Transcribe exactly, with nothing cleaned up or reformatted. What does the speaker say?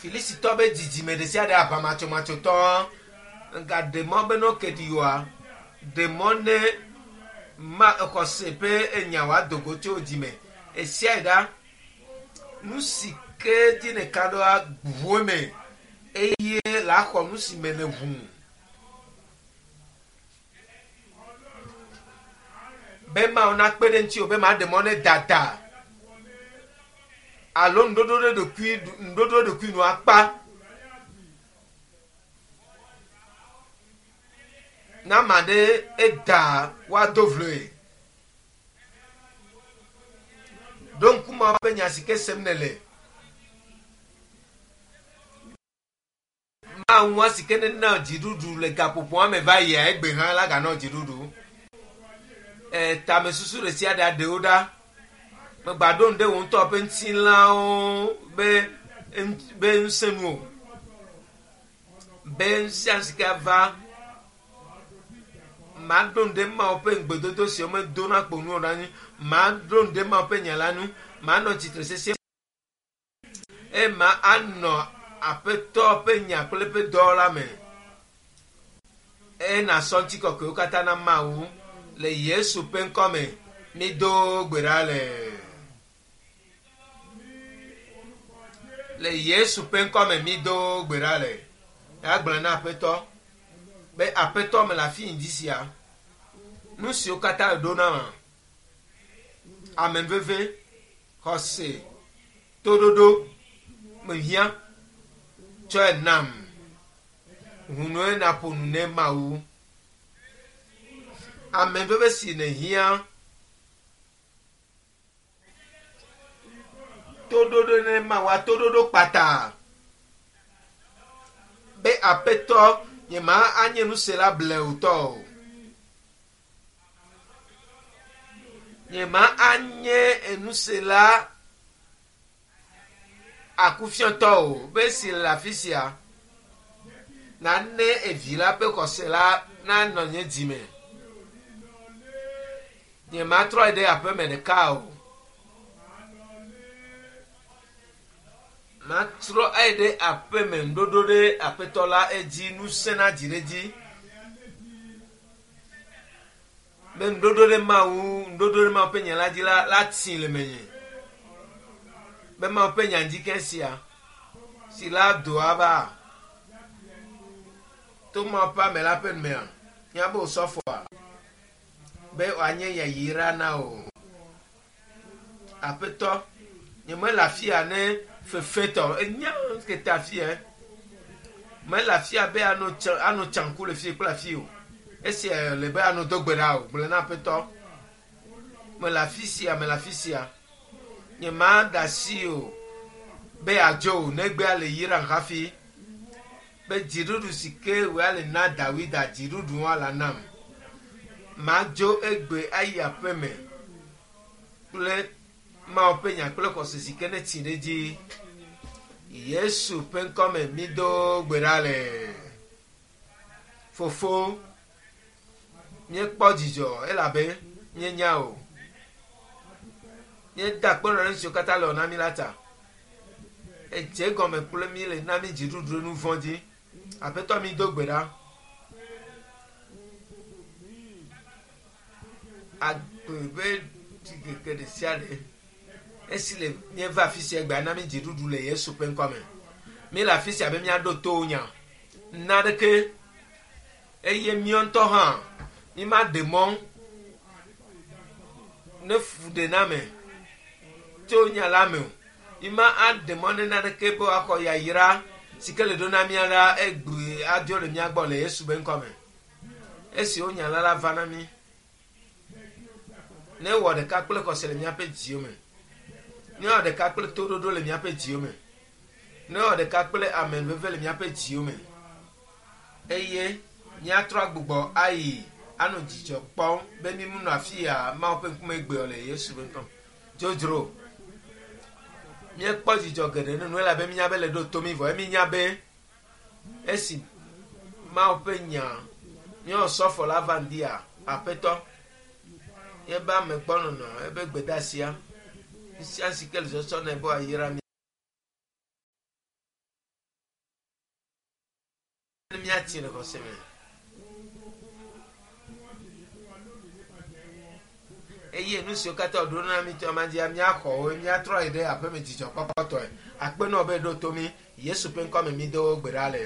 Filisitɔ be dzidzime ɖe sia ɖe aʋamatsomatsotɔ nga ɖe mɔ be ne woke ɖi oa ɖe mɔ ne ma xɔse ƒe enya wòado go tso dzime esia yi ɖa nu si ke dzi ne ka ɖoa ʋu eme eye la xɔ nu si me ne ʋu be mawo nakpe ɖe ŋuti o be ma ɖe mɔ ne dada alo nuɖoɖo ɖe ɖokui nuɖoɖo ɖokui nu akpa na ame aɖe eda woado vloe ɖo ŋkume ƒe nya si ke sem nele mawu si ke nena dziɖuɖu le gaƒoƒoa me va yia egbe hã la ganɔ dziɖuɖu e tamesusu ɖe sia ɖe aɖewo ɖa megba ɖo nu ɖe wo ŋutɔ ƒe ŋutilãwo be be ŋusẽ nu o be ŋusẽ si ke va maɖo nu ɖe Mawu ƒe ŋugbedodo siwo medona kpo nu o la ŋu maɖo nu ɖe Mawu ƒe nya la ŋu manɔ tsitre sesĩe eye ma anɔ aƒetɔ ƒe nya kple eƒe dɔ la me eye nasɔ ŋutikɔkɔewo katã na Mawu le Yesu ƒe ŋkɔme mido gbe ɖa le le Yesu ƒe ŋkɔme mido gbe ɖa le agblɔ na aƒetɔ be aƒetɔ me le afi ŋdi sia nu siwo katã ɖo na ma ame veve xɔse toɖoɖo mehiã tsɔe nam ʋunue naƒo nu ne Mawu ame veve si nehiã toɖoɖo ne Mawu toɖoɖo kpata be aƒetɔ nye ma anye nusela blewutɔ o nye ma anye enusela akufiɔtɔ o be si le afi sia nane evi la ƒe xɔse la nanɔ nye dzime nye ma trɔ yi ɖe aƒeme ɖeka o matrɔ ayi ɖe aƒeme ŋuɖoɖo ɖe aƒetɔ la edzi ŋusẽ na dzi ɖe dzi be ŋuɖoɖo ɖe Mawu ŋuɖoɖo ɖe Mawu ƒe nya la dzi la la tsi le menye be Mawu ƒe nya dzi ke sia si la doa va to Mawu ƒe ame la ƒe numea míabe wòsɔfɔa be wòanye yayra na o aƒetɔ nye mele afia ne fefetɔ enya kete afia mele afia be anɔ tsa anɔ tsanku le fie kple afi o esia le be anɔ do gbe ɖa o gblɔ na aƒetɔ mele afi sia mele afi sia nye ma da asi o be adzo o negbea le yram hafi be dziɖuɖu si ke wòa le na Dawida dziɖuɖu wa la nam madzo egbe ayi aƒeme kple Mawu ƒe nya kple xɔse si ke ne tsi ɖe dzi Yesu ƒe ŋkɔme mido gbe ɖa le fofo míekpɔ dzidzɔ elabe míenya o míeda akpe nɔ nu siwo katã le wɔ na mí la ta edze gɔme kple mí le na mí dziɖuɖu ɖe nu vɔ̃ dzi aƒetɔ mi do gbe ɖa agbe ƒe ɖikeke ɖe sia ɖe esi le míeva afi sia gbea na mí dziɖuɖu le Yesu ƒe ŋkɔme mí le afi sia be míaɖo to nya naɖeke eye míɔ ŋutɔ hã mí ma ɖe mɔ ne fu ɖe na me tso nya la me o mí ma aɖe mɔ ne naɖeke be woaxɔ yayra si ke le ɖo na mía la egbe adzo le mía gbɔ le Yesu ƒe ŋkɔme esi wo nya la la va na mí ne wɔ ɖeka kple xɔse le míaƒe dziwo me ne wɔ ɖeka kple toɖoɖo le míaƒe dziwo me ne wɔ ɖeka kple amenuveve le míaƒe dziwo me eye míatrɔ agbugbɔ ayi anɔ dzidzɔ kpɔm be mímunɔ afi ya Mawu ƒe ŋkume gbe le Yesu ƒe ŋkɔme dzodzro míekpɔ dzidzɔ geɖe ne nu elabe mínya be le ɖo to mí vɔ mínya be esi Mawu ƒe nya míewɔ sɔfɔ la va ŋdia aƒetɔ ebe amegbɔnɔnɔ ebe gbedeasia sia si ke le sɔsɔ nɛ be wòayra mí. Ne míatsi le xɔse me. Ohun tó wọ́n ṣèlérí fún wa lónìí nípasẹ̀ wọn, gbogbo ẹ̀ Eye nu siwo katã wòɖo na mí tɔ ma dzia míaxɔ wo míatrɔ yi ɖe aƒeme dzidzɔkpɔkpɔtɔe. Akpe nɔ be ɖo to mí. Yesu ƒe ŋkɔme mído gbe ɖa le.